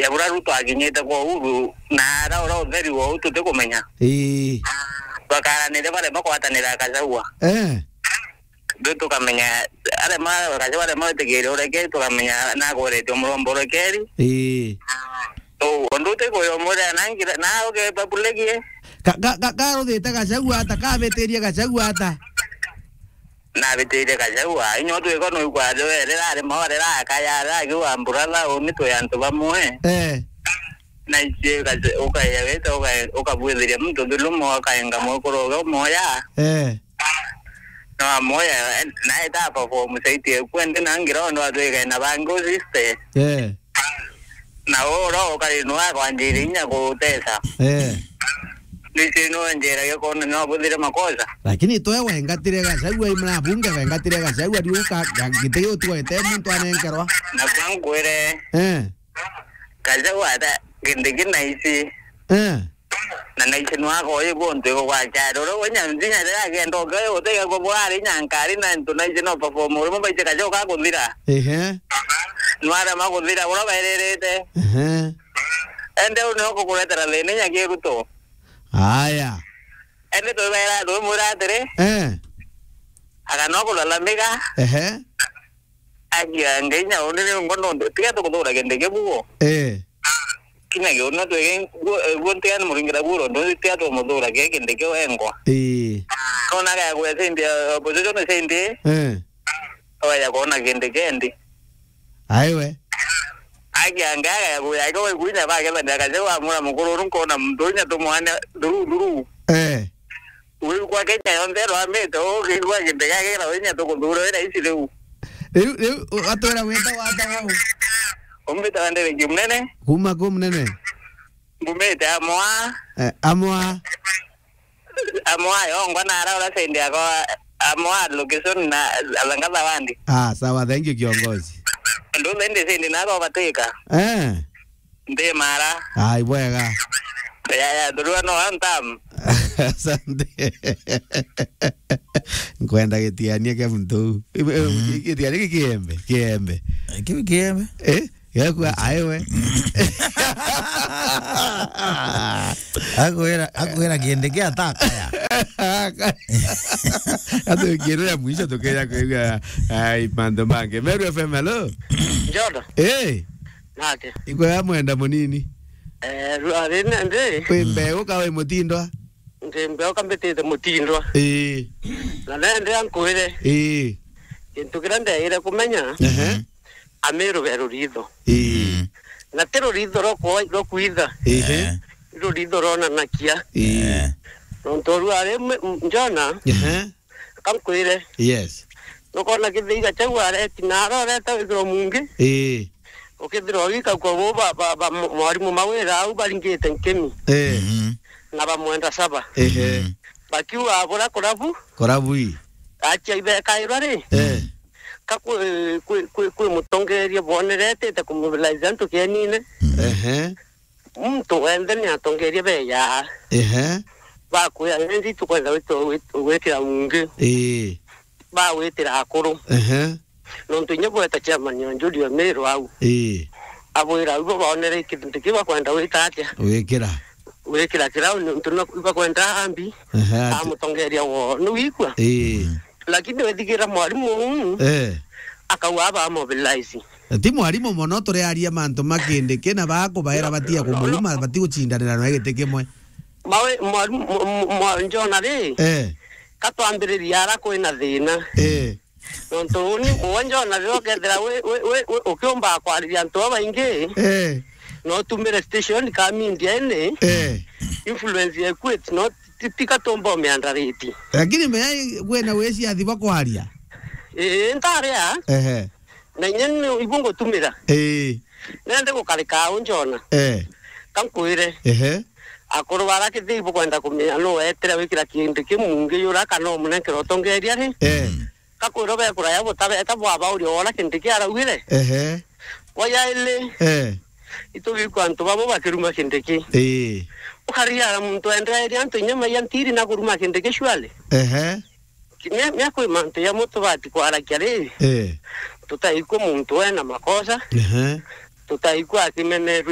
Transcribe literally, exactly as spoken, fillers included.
Ebura Ruto akinyite kwa Uhuru, na ara ura utheri wa uu tutikumenya. Ii. Twakaranire barema kwatanira Gachagua. Eh. Ndu tukamenya, arema, Gachagua arema witikiria urekeri, tukamenya nakuretio muromba urekeri. Ii. So, undu utikuya umwira nangira, na uge public ye. Ka, ka, ka, karuthite Gachagua ata, kabitirie Gachagua ata? Nabitirie Gachagua, inya utwika nuigwa riria rari mawa rira akaya, rira akiuga, "Brother, uni twi antu bamwe." Eh. Na ici ukaja, ukaeja wite, uka-, ukabwithiria muntu thulumu, ukaenga mwekuru uge umoya. Eh. No amoya, eh, naeta perform site eku, endi na ngira undu atwikae na bangi usiste. Eh. Na ura ukari nwa kwanjiri inya kutesa. Eh. Nisi nwe njira gikona no buthire makosa. Lakini twe wengatire Gachagua, imna bunge wengatire Gachagua, riu ka, ka, giti giu twete muntu anenkerwa. Na kwa nkwire, eh, Gachagua ata, gindi kina isi. Eh. Na naisi nwako ibo ntu igwa charo. Ura wenya nzinya rira agenda uke, utega kwa bwari nyankari na ntu naisi no perform uri mubaite Gachagua kakuthira. Ehe. Nwara makuthira, ura bairerete. Ehe. Ende uni ukukuretera thina inya kiruto. Aya. Ende tubera, tumwira atiri. Eh. Akana kulalamika. Ehe. Agia Ngai nya uni ni ngo nonde. Tiga tukuthura kindi kibugo. Eh. Kinya giu no twege guo, guo ntiga ni muringira guo ndo tiga tumuthura ke kindi kiu engwa. Eh. Kona ga gwe sindi, opposition sindi. Eh. Oya kona kindi kendi. Aiwe. Agia Ngai aga ya kuya ke we kunya ba ke bende akaje wa mura mukuru ru nkona muntu nya tumwana nduru nduru. Eh. Wi kwa Kenya yonthe rwamite, ukigua kindi gia kira winya tukuthura wira ici riu. Riu, riu, u-, atwira wita wata wau? Umbita wa Ndereki Munene. Kuma ku Munene? Mbumite Amwa. Eh, Amwa. Amwa yongwa na ara ura side yako, Amwa location na Alangatha wandi. Ah, sawa, thank you, kiongozi. Ndu ndi side nako batika. Eh. Ndi mara. Ai, bwega. Ya, ya, through no one time. Asante. Nkwenda gitiania kia muntu. Mm. Gitiania ki kiembe, kiembe. Eh, kiu kiembe. Eh? Yakwa aiwe. Akwira, akwira kindi kia takaya. Atu ngirira mwisho tukeja kwigua, ai, mantu mangi. Meru F M, hello? Njodo. Eh. Nake. Ikwega mwenda munini. Eh, rua rine ndi. Wi mbeu ka wi mutindwa? Ndi mbeu ka mbitite mutindwa. Ii. Na nende ankwire. Ii. Kintu kiria ndeire kumenya, ehe, Amiru be ruritho. Ii. Mm. Na ti ruritho rwa kwa-, rwa kwitha. Ehe. Eh. Ni ruritho rwonanakia. Ii. Eh. Nontu rua ri m-, m-, Njona, ehe, kankwire. Yes. Nukona Githii Gachagua areti na aroreta withirwa mungi. Ii. Ukithirwa wika kwa bo ba, ba, ba, mo-, mwarimu mawira au baringite nkimi. Eh. Mhm. Na bamwenda saba. Ehe. Mhm. Bakiuga abura kurabu. Kurabu ii. Achia ibekairwa ri. Eh. Ka kwi, kwi, kwi, kwi mutongeria boneretete kumobilize antu kienine. Mhm. Ehe. Muntu wenthe ni atongeria beya. Ehe. Bakwira, "Nindi tukwenda gwit-, gwit-, gwitira mungi." Ii. Bagwitira akuru. Ehe. Nontu inya bweta chairman o Njuri o Miru au. Ii. Abwira au bo baonere kintu kiu bakwenda gwita atia? Gwikira. Gwikira kirau nontu no ibakwenda ambi. Ehe, ati- amutongeria wo. Ni wikua? Ii. Lakini wethigira mwarimu uu, eh, akauga aba mobilize. Na ti mwarimu mono, turiaria mantu ma Kindiki na bakubaira batia kumuruma, batigucindanira nawe giti kimwe. Mawe, mwarimu, mwa-, mwa-, mwa-, Njona ri, eh, katwambiriria ara kwina thina. Eh. Nontu uni, uwe Njona riria ukethira wi, wi, wi, wi, ukiumba kwariria antu babaingi, eh, no utumire station ka media ini, eh, influence ya equate, no ti, ti katumba umiandariti. Lakini mea kwina wiciathi bwa kwaria? Ii, ntaria. Ehe. Na inya ni ibu ngutumira. Ii. Nende gukarika au Njona. Eh. Kankwire. Ehe. Akuru bara Kithii bukwenda kumenya nu wetire wikira kintu kiu mungi yura kana umunenkera utongeria ri? Eh. Mm. Kakwira bekura ya butabeta bwabauria wona kintu kiaraugire. Ehe. Kwa yaili. Eh. Itugikwa antu babo bakiruma kintu ki. Ii. Ukaria muntu endereria antu inya maiya ntiri na kuruma kintu ki surely. Ehe. Mia, mia kwi mantu ya mutu bati kwarakia ri. Eh. Tutaikwa muntu ena makosa. Ehe. Tutaikwa akimenerwe